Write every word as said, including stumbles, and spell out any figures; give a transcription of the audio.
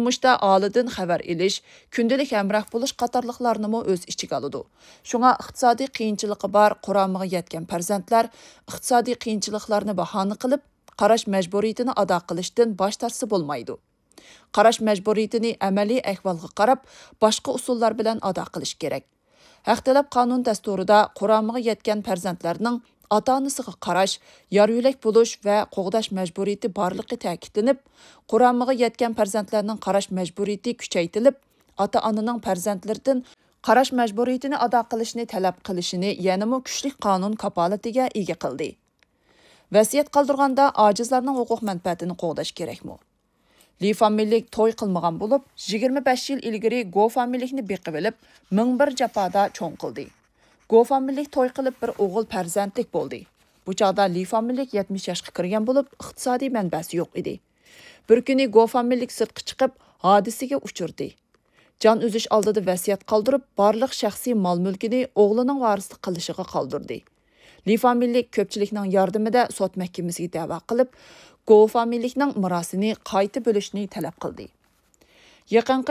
تۇرمۇشتا ئالىدىن خەۋەر ئېلىش، كۈندىلىك ھەمراھ بولۇش قاتارلىقلارنىمۇ ئۆز ئىچىگە ئالىدۇ. شۇڭا ئىقتىسادىي قىيىنچىلىقى بار قۇرامىغا يەتكەن پەرزەنتلەر ئىقتىسادىي قىيىنچىلىقلارنى باھانە قىلىپ، قاراش مەجبۇرىيىتىنى ئادا قىلىشتىن باش تارتسا بولمايدۇ. قاراش مەجبۇرىيىتىنى ئەمەلىي ئەھۋالغا قاراپ، باشقا ئۇسۇللار بىلەن ئادا قىلىش كېرەك. ھەق تەلەپ قانۇن دەستۇرىدا قۇرامىغا يەتكەن پەرزەنتلەرنىڭ ئاتا-ئانىسىغا قاراش، يار-يۆلەك بولۇش ۋە قوغداش مەجبۇرىيىتى بارلىقى تەكىتلىنىپ، قۇرامىغا يەتكەن پەرزەنتلەرنىڭ قاراش مەجبۇرىيىتى كۈچەيتىلىپ، ئاتا-ئانىنىڭ پەرزەنتلىرىدىن قاراش مەجبۇرىيىتىنى ئادا قىلىشنى تەلەپ قىلىشىنى يەنىمۇ كۈچلۈك قانۇن كاپالىتىگە ئىگە قىلدى. ۋەسىيەت قالدۇرغاندا ئاجىزلارنىڭ ھوقۇق مەنپەئەتىنى قوغداش كېرەكمۇ؟ لى فامىلىلىك توي قىلمىغان بولۇپ، يىگىرمە بەش يىل ئىلگىرى گو فامىلىلىكنى بېقىۋېلىپ، مىڭ بىر جاپادا چوڭ قىلدى. گو فامىلىلىك توي قىلىپ، بىر ئوغۇل پەرزەنتلىك بولدى. بۇ چاغدا لى فامىلىلىك يەتمىش ياشقا كىرگەن بولۇپ، ئىقتىسادىي مەنبەسى يوق ئىدى. بىر كۈنى گو فامىلىلىك سىرتقا چىقىپ، ھادىسىگە ئۇچرىدى. جان ئۈزۈش ئالدىدا ۋەسىيەت قالدۇرۇپ، بارلىق شەخسىي مال-مۈلكىنى ئوغلىنىڭ ۋارىسلىق قىلىشىغا قالدۇردى. لى فامىلىلىك كۆپچىلىكنىڭ ياردىمىدە سوت مەھكىمىسىگە دەۋا قىلىپ، گو فامىلىلىكنىڭ مىراسىنى قايتا بۆلۈشنى تەلەپ قىلدى. يېقىنقى